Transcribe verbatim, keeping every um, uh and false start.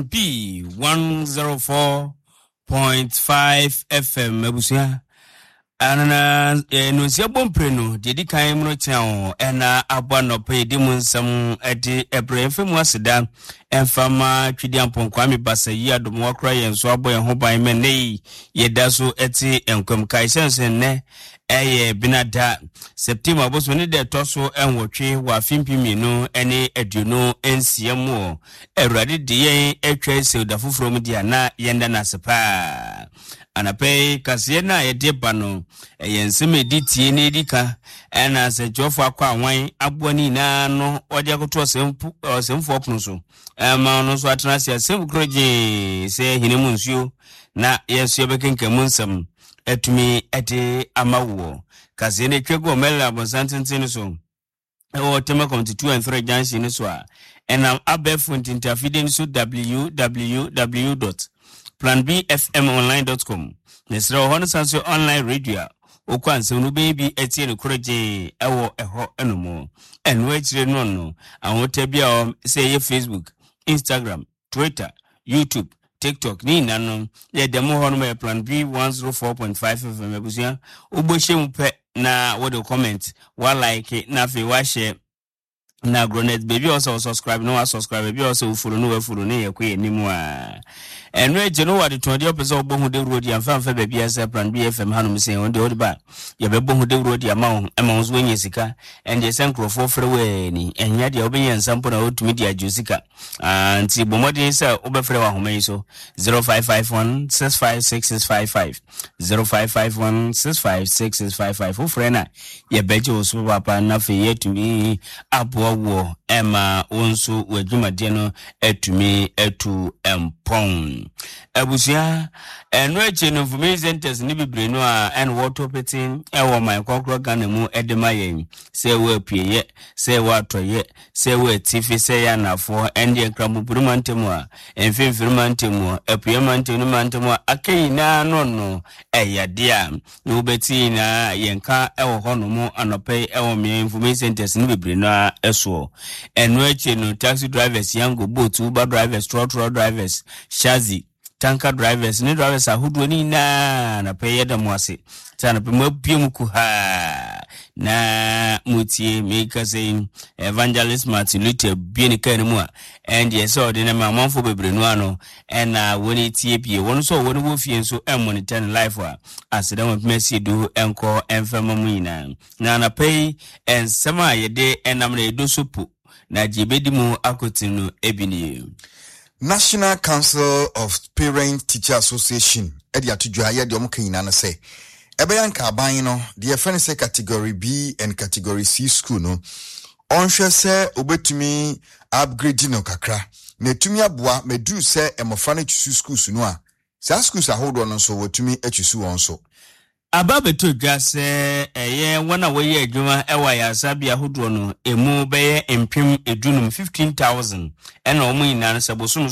P one zero four point five F M. Abusua, anana nonsia bɔ mprenu deɛ di kan mu no kyerɛ wo ɛna abɔ anɔpa yɛdi mu nsɛm ɛde ɛbrɛ mfa mu aseda ɛmfa ma Twidi Ampɔnkwame Basa yi adom wakora yɛn so abɔ yɛn ho ban ma nnɛ yi yɛda so ɛte nkwam. Kae sɛ nsɛ nnɛ ɛyɛ Benada, September abosom ne deɛ ɛtɔ so ɛnwɔtwe wɔ afe mpem mmienu ne aduonu nsia mu. Wɔ Awurade de yɛn atwa sɛ da foforɔ mu deɛ na yɛnda no ase paa. Anapa yi kaseɛ no a yɛde ba no ɛyɛ nsɛm a ɛdi tie na ɛdi ka ɛna nsɛnkyerɛfoɔ akɔ awan aboa no nyinaa no wɔde akoto ɔsɛmfoɔ pono so ɛma no nso atena ase asɛm koro gyee sɛ hene mu nsuo na yɛn nso yɛbɛkenkan mu nsɛm atumi ɛde ama woɔ. Kaseɛ no atwa gu ɔmɛlɛ abɔnsan tenten no so ɛwɔ Tema Community two and three junction no so a ɛnam abɛɛfo ntintafidie no so, W W W dot plan B F M online dot com. Mesrɛ wɔ hɔ no san so online radio a wokɔ ansɛm no wobɛyɛ bi atie no koro gyee ɛwɔ ɛhɔ ɛno mu. Ɛno akyire no no ahota bi a sɛ ɛyɛ Facebook, Instagram, Twitter, YouTube, TikTok ne nyinaa no yɛ dɛm hɔ no yɛ Plan B one zero four point five F M. Abusua, wobɛhyɛ mu pɛ na wode comment wa like na afei wahyɛ na agronet baabi a ɔsɛ subscribe na wasubscribe, baabi a ɔsɛ wofollow na wafollow ne yɛkɔ yɛ anim a ɛno akyi no wade tɔn deɛ ɔpɛ sɛ wobɔ ho dawuro de amfa amfa baabi a sɛ Plan B F M hanom sɛ wɔn deɛ wode ba yɛbɛbɔ ho dawuro de ama wo ɛma wo nso woanya sika. Ɛndeɛ sɛ nkurɔfoɔ frɛ wo ani ɛnyɛ deɛ wobɛnya nsa mpo na wotumi de agye sika. Nti bɔ mmɔden sɛ wobɛfrɛ wɔ ahoma yi so, zero five five one six five six six five five, zero five five one six five six six five five. Wofrɛ no a yɛbɛgye wo so papaapa na afei yɛatumi aboa woɔ ɛma wo nso w'adwumadeɛ no atumi atu mpɔn. Abusua, ɛno akyi no information centers ne bebree no a ɛna wɔtɔ pete ɛwɔ man kɔkorɔ Ghana mu ɛde ma yɛn sɛ ɛwɔ apueyɛ, sɛ ɛwɔ atɔyɛ, sɛ ɛwɔ atifi, sɛ ɛyɛ anafoɔ, ɛndeɛ Nkramopori mantam a mfimfini mantam mu, apueyɛ mantam ne mantam a aka nyinaa no no ɛyɛ adeɛ a na wobɛti nyinaa yɛnka ɛwɔ hɔ nom anɔpɛ yi ɛwɔ mmea information centers ne bebree no a ɛsoɔ. Ɛno akyi no taxi drivers, Yango, Bolt, Uber drivers, trɔtrɔ drivers, shazi, tanker drivers ne drivers ahodoɔ ne nyinaa, anɔpɛ yi yɛda mo ase sɛ anɔpɛ mu abue mu kuhaa na motie. Meka sɛ Evangelist Martin Luther bue ne kaa no mu a ɛndeɛ sɛ ɔde no ma amanfoɔ bebree no ano ɛna wɔne tie bie. Wɔn nso a wɔne wɔ fie nso ɛmonitor no live a aseda wɔn mpema sie du ɛnkɔ ɛmfɛma mu nyinaa. Na anɔpɛ yi nsɛm a yɛde ɛnam no yɛdo so po na gye bɛdi mu akɔtene no ebi nie. National Council of Parent Teacher Association ɛde ato dwa yɛ deɛ ɔmo ka nyinaa no sɛ ɛbɛyɛ nka aban no deɛ yɛfrɛ no sɛ category B and category C school no, ɔnhwɛ sɛ obetumi upgrade no kakra na etumi aboa mɛduru sɛ mmɔfra no tusu schools no a saa schools ahodoɔ no nso wɔtumi atusu wɔn so. Aba bɛtɔ dwa sɛ ɛyɛ wɔn a wɔyɛ adwuma ɛwɔ ayaresabea ahodoɔ no emu bɛyɛ mpem edunum, fifteen thousand, ɛna wɔn nyinaa no sɛ bosom so.